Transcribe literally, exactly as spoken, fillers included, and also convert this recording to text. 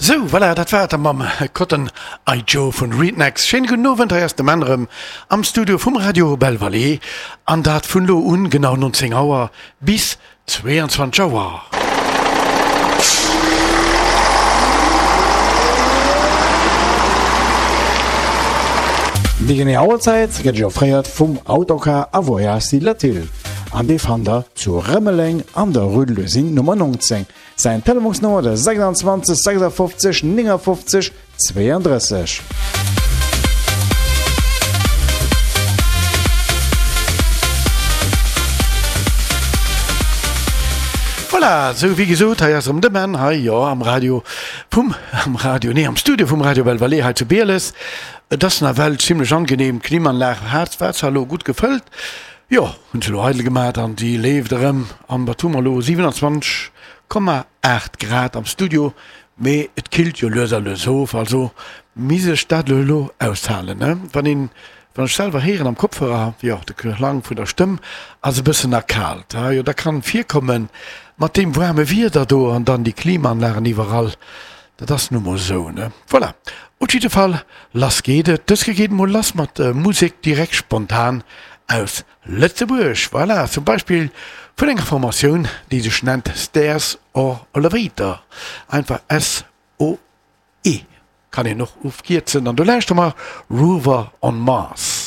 Sou, voilà, dat war et da mam Cotton Eye Joe vun Rednex. Schéine gudden Owend, hei ass de Menn erëm am Studio vum Radio Belle Vallée an dat vun lo un genau nonzéng Auer bis zweeanzwanzeg Auer. Déi genee Auerzäit gëtt Iech offréiert vum Autocar a Voyages Latil an dee fannt der zu Rëmeleng an der Rue de l'Usine Nummer neunzéng. Säin Telefonsnummer ass sechsundzwanzeg sechsundfünfzig neunundfünfzig zweiunddrësseg. Voilà, sou wéi gesot, hei ass erëm de Menn, hei, jo, am Radio vum, am Radio, nee, am Studio vum Radio Belle Vallée hei zu Bieles. Et ass nawell zimlech angenehm, d'Klimaanlag hat, war zwar elo gutt gefëllt, jo, hunn se elo eidel gemat an déi leeft erëm. An wat hu mer elo, siewenundzwanzeg Komma aacht Grad am Studio, mee et killt jo lues a lues of, also misst ech dat elo aushalen, ne? Wann een, wann ech selwer héieren am Kopfhörer, jo, de Klang vun der Stëmm ass e bëssen erkaalt, ha jo, dat kann virkommen mat deem waarme Wieder do an dann déi Klimaanlagen iwwerall, dat ass nu mol esou, ne? Voilà, op jidde Fall, lass geet et. Dës Kéier geet et mol lass mat Musek direkt spontan aus Lëtzebuerg, voilà, zum Beispill vun enger Formatioun, déi sech nennt Stairs or Elevator, einfach S O E kann een och ofkierzen, an do lauschtere mer Rover on Mars.